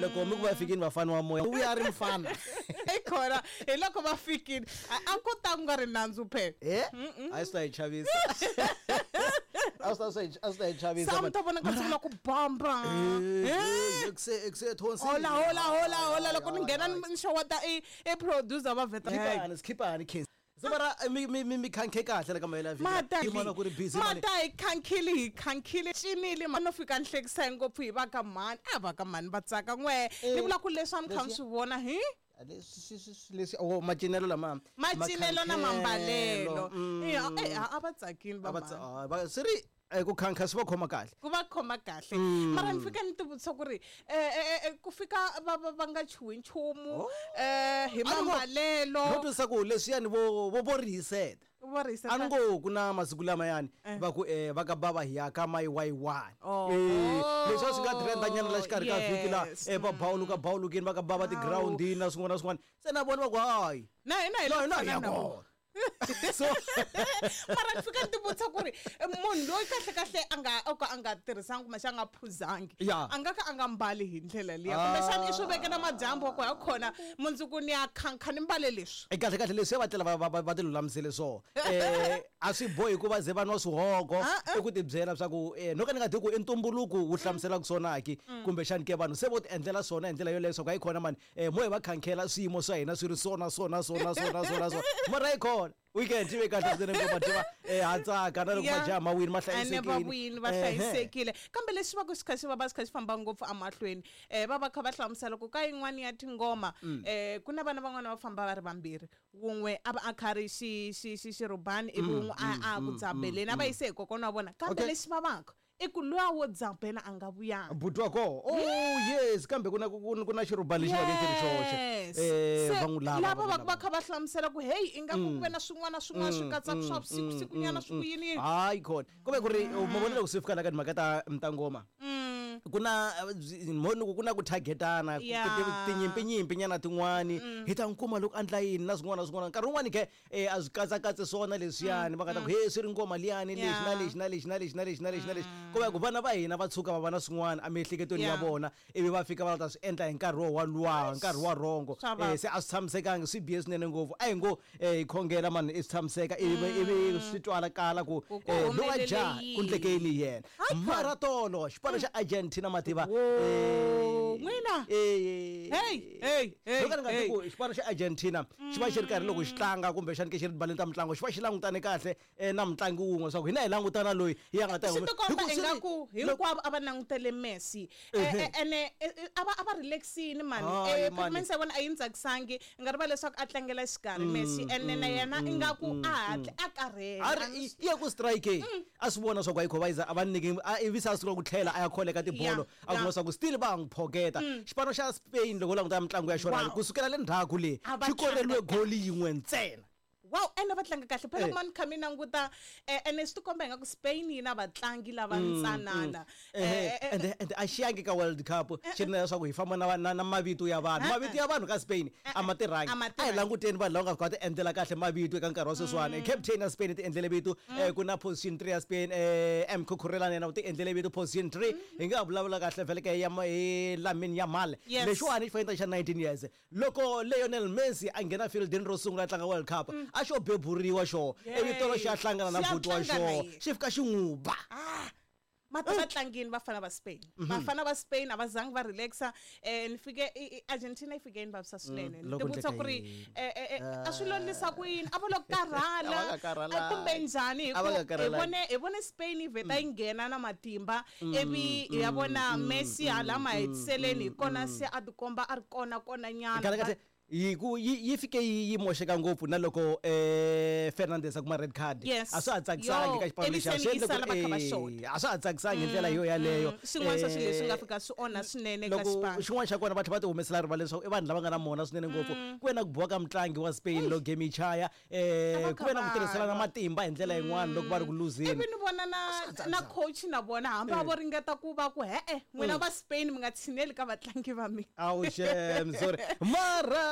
Loko mi ku va fikini vafana wa moya, u ya ri mfana. I khona hi loko va fikini a ku ta ku nga ri nandzu phela. Eh? A swi ta hi chavisa. A swi ta hi chavisa. Sa mi ta vona ka sungula ku bamba. Eh, ekuse thonsi. Hola hola hola hola, loko ni nghena ni xeweta i producer va vheta. Khiphani, khiphani khensi. Se mara mi khankhe kahle la ka mahela vhiki. Mata Yi vona ku ri busy mani. Mata hi khankhile, hi khankhile cinile ma no fika ni hlekisa ngopfu hi va ka mhani, a va ka mhani va tsaka n'we. Ni vula ku leswi a ni kha ni swi vona hi Leswi oh, macinelo lama. Macinelo na mambalelo. Makhankhelo. A va tsakini va A va mhani. Swi ri ku khankha swi va khoma kahle. Ku va khoma kahle. Mara ni fika ni tivutisa ku ri ku fika va nga chuhi nchumu hi A ni ngo- mambalelo. No twisisa ku leswiyani vo rihiseta. Vo rihiseta. A ni ngo ku na masiku lamayani va ku va ka bava hi ya ka mai wai wani. Oh. Leswi a swi nga trenda nyana la xikarhi ka vhiki la, Yes. va bawuluka bawulukini, va ka bava tigirawundini na swin'wana na swin'wana. Se na vona va ku hayi. Na hina hi Na le hina hi ku ya fana na kona. vona. So mara ni fika ni tivutisa ku ri munhu loyi kahle kahle a nga o ka a nga tirhisanga kumbexana a nga phuzangi, a nga ka a nga mbali hi ndlela liya, kumbexana i swi veke na madyambu wa ku ya khona mundzuku ni ya khankha ni mbale leswi. Kahle kahle leswi va tlela va ti lulamisele swona. A swi bohi ku va ze va nwa swihogo, i ku ti byela swa ku no ka ni nga tivi ku i ntumbuluko wu hlamuselaka swona ki, kumbexani ke vanhu se vo ti endlela swona hi ndlela yoleyo swa ku hayi khona mani, mo hi va khankhela swiyimo swa hina swi ri swona swona swona swona swona swona. Mara hayi khona weekend yi ve kahle swinene ngopfu, mativa, ha tsaka na loko majaha ma wini ma Ene va hlayisekile. wini va hlayisekile, kambe leswi va ku swi kha swi va va swi kha swi famba ngopfu emahlweni, va va kha va hlamusela ku ka yin'wani ya tingoma, ku na vana van'wana va famba va ri vambirhi, wun'we a va a kha ri xirhubani, ivi wun'we a ku dzabeleni, a va yise hi kokwana wa vona, kambe lexi vavaka i ku luya wo dzabela a nga vuyanga. Buti wa koho. Oh yes, kambe ku na xirhubani lexi va ke xi ri xoxe. Yes. Va Se, n'wi lava, lava va n'wi va lava. va kha va hlamusela ku hey, ingaku ku ve na swin'wana swin'wana swi katsaka swa vusiku sikunyana swi ku yini yini. Hayi khona. Ku ve ku ri, ma vona loko swi fika la ka timhaka ta ngoma. Ku na, mo ni ku ku na ku targetana, ku tinyimpi nyimpi nyana tin'wani. Hi ta n'wi kuma loko a endla yini na swin'wana na swin'wana. Nkarhi wun'wani ke, a swi katsakatsi swona leswiyani, va nga ta ku, he, swi ri ngoma liyani, lexi na lexi na lexi na lexi na lexi na lexi na lexi. Ku va ku vana va hina va tshuka va va na swin'wana emiehleketweni ya vona, ivi va fika va ta swi endla hi nkarhi wo wa luwa, nkarhi wa rhongo. Swa vava. Se a swi tshamisekangi, swi bihe swinene ngopfu. A hi ngo, hi khongela mani, i swi tshamiseka, ivi swi twala kala ku, Ku ku lowa humelele jaha, ku yini? endleke yini hi yena. Hayi khona. Mara tolo, xipano xa Argentina mativa. Wo, n'wina. Hey, hey, hey, Loko ni nga hey. ku xipano xa Argentina xi va xi ri karhi loko xi tlanga kumbexani ke xi ri baleni ta mitlangu, xi va xi langutane kahle na mutlangi wun'we swa ku hina hi langutana loyi hi ya nga ta Swi hi tikomba ku swi ri ingaku hinkwavo a va langutele Messi. Ene, a va relaxini mani. Hayi, mani. Performance ya vona a yi ni tsakisangi, i nga rivala leswaku a tlangela xikarhi Messi, ene na yena ingaku a hatli a karhele. A ri, A ni i ya ku strike, a swi vona swa ku ayikho va yiza, a va nyiki, a ivi se a sungula ku tlhela a ya kholeka tibolo, a kuma swa ku still va ha n'wi phoketa. Xipano xa Spain loko u languta mitlangu ya xona, kusukela le ndzhaku le, A va xi koreliwe tlanga goli yin'we ntsena. Wow, ene va tlanga kahle phela, kuma ni kha mi languta, ene swi tikomba ingaku Spain yi na vatlangi lava ntsanana. And a xi yangi ka World Cup xi ri na leswaku hi famba na mavito ya vanhu. Mavito ya vanhu ka Spain a ma tirhangi. A ma A hi tirhangi. languteni vanhu lava nga fika va ti endlela kahle mavito eka nkarhi wa sweswiwani. Captain ya Spain ti endlele vito, ku na position 3 ya Spain, M Cucurella na yena u ti endlele vito position 3. Hi nga vulavula kahle vhele ke ya hi Lamine Yamal. Lexiwani xi fanele xa 19 years. Loko Lionel Messi a nghena fieldini ro sungula a tlanga World Cup, a xo beburiwa xo, ivi tolo xi ya hlangana na Xi ya buti wa tlanga na xo, yena. xi fika xi n'wi ba. Mata va tlangini vafana va Spain. Vafana va Spain a va zangi va relaxa. Ni fike Argentina yi fike yi ni vavisa swinene. Ni Loko tivutisa ndleka ku ri, yini? A swi lo lisa ku yini? A va lo karhala, A va nga karhalangi. kumbe njhani? Hi A va ku nga karhalangi. hi vone Spain yi vheta yi nghena na matimba, ivi hi ya vona Messi hala mahetiseleni, hi kona se a tikomba a ri kona kona nyana. Kahle kahle yi ku yi fike yi moxeka ngopfu na loko Fernandes a kuma red card. Yes. A swa ha tsakisangi Yo, ka xipano ivi lexiya. se Swi ni endle ku yi sala va kha va xota. a swa ha tsakisangi hi ndlela yo yaleyo. Swin'wana swa swilo leswi nga fika swi onha swinene ka Loko xipano. xin'wana xa kona va tlhela va ti humesela rivala leswaku i vanhu lava nga na mona swinene ngopfu. Ku ve na ku biwa ka mutlangi wa Spain loko game yi chaya, A va ku ve na ku kha tirhisana va lwa. matimba hi ndlela yin'wana loko va ri ku luzeni. Ivi ni vona na coach na vona hambi a vo ringeta ku va ku he-e, n'wina va Spain mi nga tshineli ka vatlangi va mina. Awu xem, sorry. Mara